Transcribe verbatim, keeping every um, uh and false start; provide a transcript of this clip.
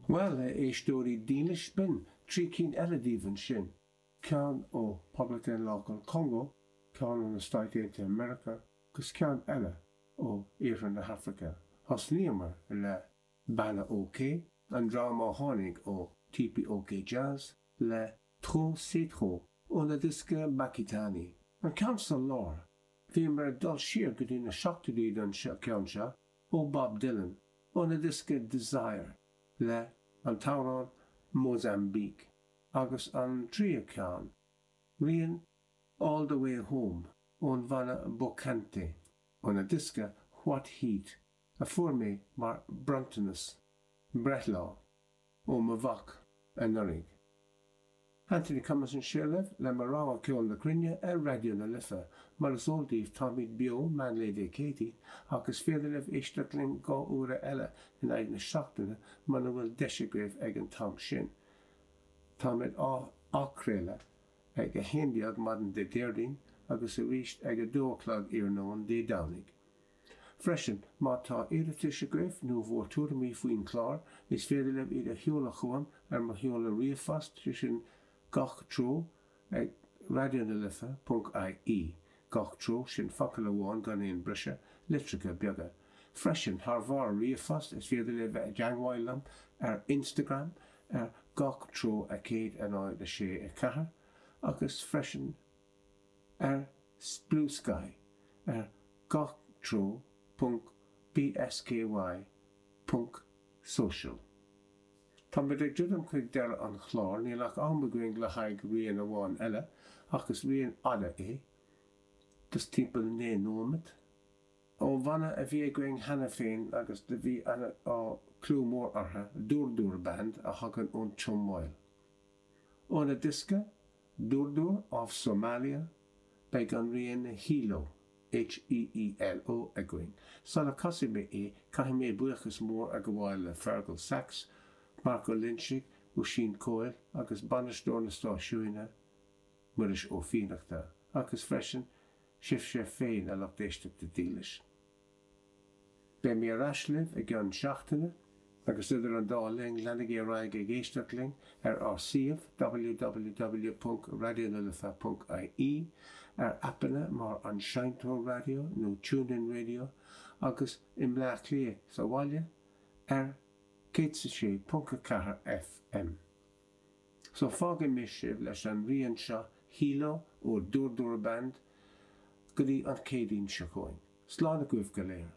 Bhuel, a éisteoirí dílis, b'in trí cinn eile daoibh ansin, ceann ó Poblacht Daonlathach an Chongó, ceann ó na Stáit Aontaithe Meiriceá agus ceann eile ó Iarthar na hAfraice. Thosnaíomar le Banna OK, an dream a tháinig ó TPOK Jazz, le Trop c'est trop óna diosca Bakitani. An ceann sa lár, bhíomar ag dul siar go dtí na seachtóidí don cheann seo, ó Bob Dylan, óna diosca Desire, le an t-amhrán Mozambique, agus an tríú ceann, rian All the Way Home ón bhanna Bocante, óna diosca What Heat, a fuair mé mar bronntanas breithlá ó mo mhac anuraidh. Anthony Cummins anseo libh le mo rogha ceol na cruinne ar Raidió na Life. Mar is eol daoibh, táimid beo meánlae Dé Céadaoin ach is féidir libh éisteacht linn dhá uair eile in aghaidh na seachtaine muna bhfuil deis agaibh ag an t-am sin. Táimid á athchraoladh ag a haon déag maidin Dé Déardaoin agus arís ag a dó a chlog iarnóin Dé Domhnaigh. Freisin, má tá iarratais agaibh nó bhur tuairimí faoin chlár, is féidir libh iad a sheoladh chugam ar mo sheoladh ríomhphost, sé sin gach treo ag raidió na life ponc ie. Gach treo, sin focal amháin gan aon briseadh, litreacha beaga. Freisin, thar bharr ríomhphost, is féidir libh bheith i dteagmháil liom ar Instagram ar gach treo a céad a náid a sé a ceathair agus freisin ar Bluesky ar gach treo ponc bsky ponc social. Táimid ag druidim chuig deireadh an chláir, níl ach am againn le haghaidh rian amháin eile, ach is rian fhada é, just timpeall naoi nóiméad, ó bhanna a bhí againn cheana féin agus do bhí clú mór orthu, Dur Dur Band, a thagann ón tSomáil. Óna diosca, Dur Dur of Somalia, beidh an rian Heelo. H-E-E-L-O againn. Sula casfaidh mé é, caithfidh mé buíochas mór a ghabháil le Fergal Sachs, Marc Ó Loinsigh, Oisín Coyle agus bainisteoir na stáisiúine, Muiris Ó Fiannachta, agus freisin sibhse féin a lucht éisteachta dílis. Beidh mé ar ais libh i gceann seachtaine, agus idir an dá linn leanaigí ar aghaidh ag éisteacht linn ar ár suíomh www ponc raidionalife ponc ie, ar aipeanna mar An Seinnteoir Raidió nó TuneIn Radio agus i mBleá Cliath sa bhaile ar céad is a sé ponc a ceathair FM. So fágfaidh mé sibh leis an rian seo Heelo ó Dur Dur Band go dtí an Chéadaoin seo chugainn. Slán agaibh go léir.